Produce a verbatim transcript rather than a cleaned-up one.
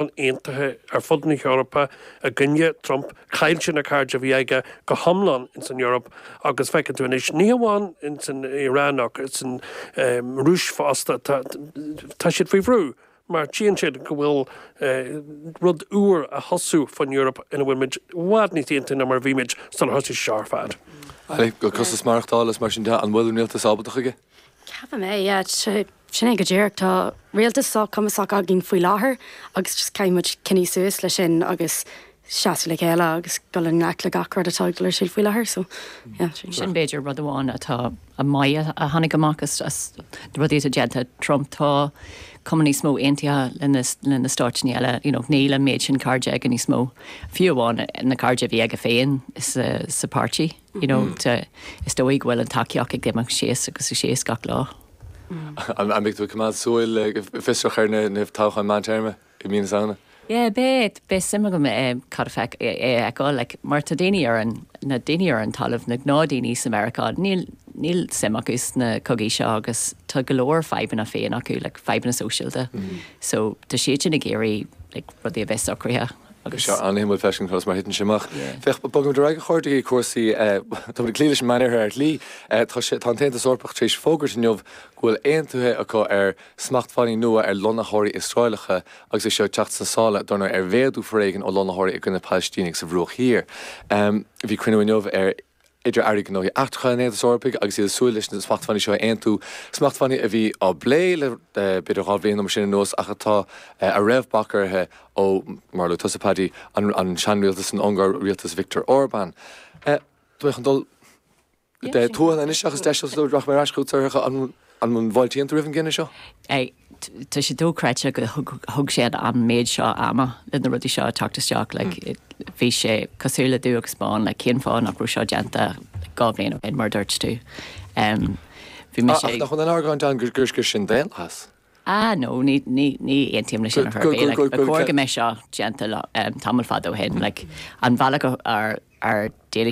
Aontaithe ar fud na hEorpa i gcoinne Trump. Chaill sé na cairde a bhí aige go hiomlán ins an Eoraip agus feiceann tú anois, ní hamháin ins an Iran ach san Rúis fosta, tá siad faoi bhrú mar tchíonn siad go bhfuil rud úr a thosú faoin Eoraip ina bhfuil muid i bhfad níos aontaithe ná mar a bhí muid sular thosaigh sé seo ar fad. Ali, go costas maireachtála is mar sin de, an bhfuil an rialtas ábalta chuige? Ceapaim é, yeah, sin é go díreach. Tá rialtas sách cumasach againn faoi láthair agus just caithfidh muid coinneáil suas leis sin agus seasamh le chéile agus dul i ngleic le gach rud atá ag dul ar siúl faoi láthair, so yeah, sin. Sin b'fhéidir rud amháin atá a maith a tháinig amach as as rudaí atá déanta Trump. Tá cuma níos mó aontaithe le le na stáit eile, you know, níl an méid sin cairde aige níos mó. Fiú amháin na cairde a bhí aige féin sa sa páirtí, you know, mm. is dóigh go bhfuil an tacaíocht ag imeacht síos agus síos gach lá. An mbeidh tú coimeád súil fiosrach ar na na toghcháin meántéarma i mí na Samhna? Yeah, beidh beidh suim agam é cad a feic é fheiceáil, like, mar tá daoine ar an na daoine ar an talamh, na gnáthdhaoine sa Meiriceá, níl níl suim acu sna cogaí seo agus tá go leor fadhbanna féin acu, like, fadhbanna sóisialta. Mm. So tá siad sin ag iarraidh, like, rudaí a bheith socraithe. Agus seo an-shuimiúil freisin conas mar thiteann sé amach. Féach, bogaimid ar aghaidh, a chairde, cúrsaí tá muid ag cloí leis an Meánoirthear ar shlí. Tá sé tá an tAontas Eorpach tar éis fógairt inniu go bhfuil aontaithe acu ar smachtbhannaí nua ar lonnaitheoirí Iosraelacha agus é seo ag teacht sna sála dar ndóigh ar mhéadú foréigin ó lonnaitheoirí i gcoinne Palaistínigh sa Bhruach Thiar. Bhí cruinniú inniu ar idir airí gnóthaí eachtracha an Aontais Eorpaigh agus iad ag súil leis na smachtbhannaí seo a aontú, smachtbhannaí a bhí á bplé le b'fhéidir dhá bhliain nó mar sin anuas ach atá a raibh bac orthu ó, mar a luaigh tusa Paddy, an an seanrialtas san Ungáir, rialtas Viktor Orbán. Tá mé chun dul tuath anois seachas deiseal so rachaidh mé ar ais chugat, Sorcha, an an bhfáiltíonn tú roimh an gcinneadh seo? Tá sé dochreidte go thug sé an méid seo ama le na rudaí seo teacht isteach, like, bhí sé cosúil le dubh agus bán, like, cén fáth nach raibh seo déanta dhá bhliain ó shin mar dúirt tú. Um, bhí mise Ach nach bhfuil an argóint ann gur gur sin daonlathas? Ah no, ní ní ní aontaím leis sin ar chor ar bith, like, ba chóir go mbeadh seo déanta um, tamall fada ó shin, like, an bhealach ar ar d'éalaigh